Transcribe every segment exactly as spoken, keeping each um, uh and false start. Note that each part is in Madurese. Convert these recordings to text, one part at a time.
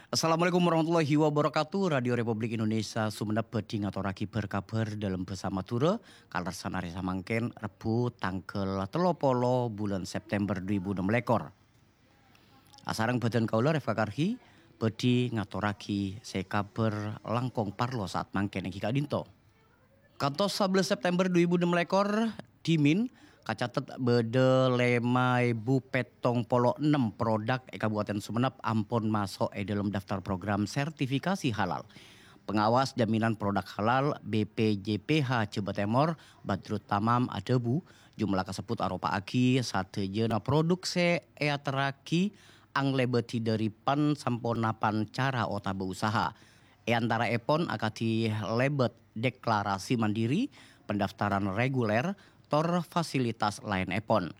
Assalamualaikum warahmatullahi wabarakatuh. Radio Republik Indonesia Sumenep bhâdhi ngatorraghi bhâr-kabhâr dâlem bhâsa Madhurâ, kalarsana arè samangkèn, Rebbhu, tangghâl tello polo bulân September dhu èbu ennem lèkor. Asareng bhâdhân kaulâ, Refka Karhi, bhâdhi ngatorraghi sè kabhâr langkong parlo sa'at mangkèn èngghi ka'dinto. Kantos sabellâs September dhu èbu ennem lèkor, dhimèn kacatet bâdâ lèma èbu pèttong polo ennem produk è Kabupaten Sumenep ampon maso' è dâlem daftar program sertifikasi halal. Pengawas Jaminan Produk Halal, B P J P H, Jhâbâ Tèmor, Badrut Tamam, adhâbu, jumlah kasebbhut aropa'aghi sadhâjâna produk sè èaterraghi anglèbâdhi dhâri pan-saponapan cara otabâ usaha. È antaraèpon akadhi lèbât deklarasi mandiri, pendaftaran reguler, tor fasilitas laènèpon.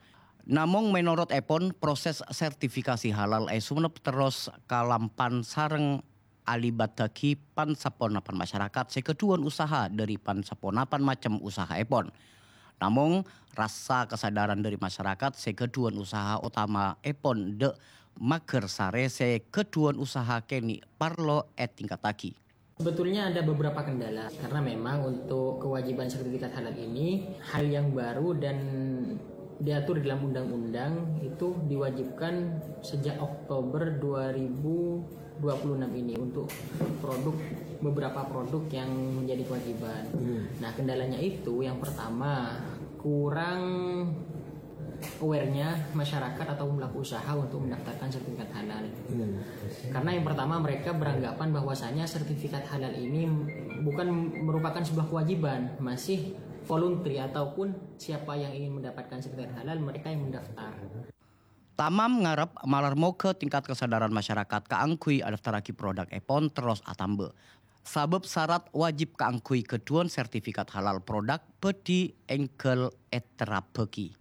Namong mènorot èpon, proses sertifikasi halal è Sumenep terros kalampan sareng alibâttaghi pan-saponapan masyarakat sè ghâdhuwân usaha dhâri pan-saponapan macem usahaèpon. Namong, rassa kasadhârân dhâri masyarakat sè ghâdhuwân usaha otamaèpon dâ' maghârsarè sè ghâdhuwân usaha kènè' parlo ètingkattaghi. Sebetulnya ada beberapa kendala, karena memang untuk kewajiban sertifikat halal ini hal yang baru dan diatur dalam undang-undang itu diwajibkan sejak Oktober dua ribu dua puluh enam ini untuk produk, beberapa produk yang menjadi kewajiban. Nah, kendalanya itu yang pertama, kurang aware-nya masyarakat atau pelaku usaha untuk mendaftarkan sertifikat halal. Karena yang pertama, mereka beranggapan bahwasanya sertifikat halal ini bukan merupakan sebuah kewajiban, masih voluntary ataupun siapa yang ingin mendapatkan sertifikat halal, mereka yang mendaftar. Tamam ngarep malar moghâ tingkat kasadhârân masyarakat kaangghuy adaftarraghi produk èpon terros atamba. Sabâb sarat wajib kaangghuy ghâdhuwân sertifikat halal produk bhâdhi èngghâl èterrabbhâghi.